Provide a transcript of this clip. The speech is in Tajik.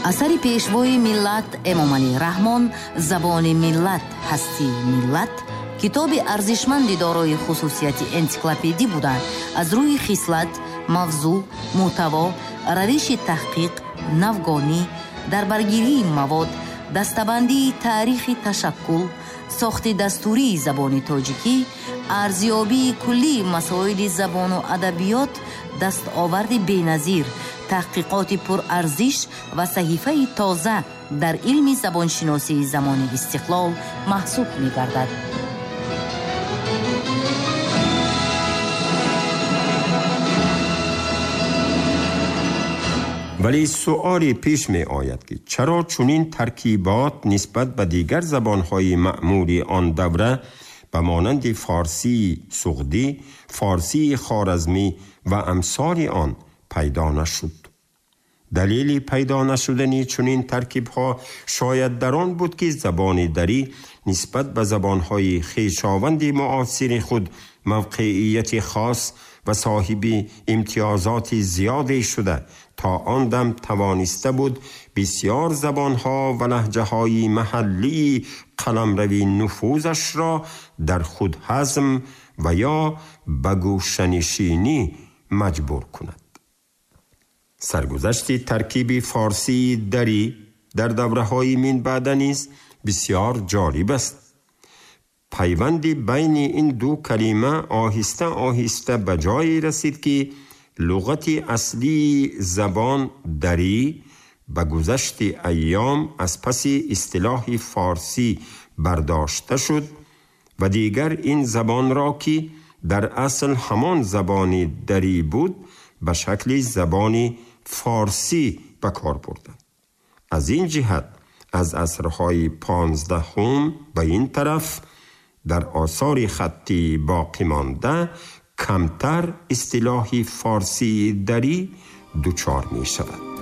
Асари Пешвои миллат Эмомалӣ Раҳмон «Забони миллат, ҳастии миллат» китоби арзишманди дорои хусусияти энсиклопедӣ буда, аз рӯи хислат, мавзӯъ, мӯҳтаво, равиши таҳқиқ, навгонӣ, дарбаргирии мавод, дастабандии таърихи ташаккул, сохти дастурии забони тоҷикӣ, арзёбии куллии масоили забону адабиёт дастоварди беназир, таҳқиқоти пурарзиш ва саҳифаи тоза дар илми забоншиносии замони истиқлол маҳсуб мегардад. Вале суоле пеш می آید که چرا چنین ترکیبات نسبت به دیگر زبانهای معمولی آن دوره به مانند فارسی سغدی، فارسی خوارزمی و امثال آن پیدا نشد؟ دلیل پیدا نشدن چنین ترکیبها شاید در آن بود که زبان دری نسبت به زبانهای خویشاوند معاصر خود موقعیت خاص و صاحب امتیازات زیادی شده تا آن دم توانسته بود بسیار زبانها و لهجه‌های محلی قلمروی نفوذش را در خود هضم و یا به گوشه‌نشینی مجبور کند. سرگذشت ترکیب فارسی دری در دوره‌های من بعد نیز بسیار جالب است. پیوند بین این دو کلمه آهسته آهسته به جایی رسید که لغت اصلی زبان دری به گذشت ایام از پس اصطلاح فارسی برداشته شد و دیگر این زبان را که در اصل همان زبان دری بود به شکل زبان فارسی به کار بردند. از این جهت از عصرهای 15 به این طرف در آثار خطی باقی مانده کمتر اصطلاح فارسی دری دچار می شود.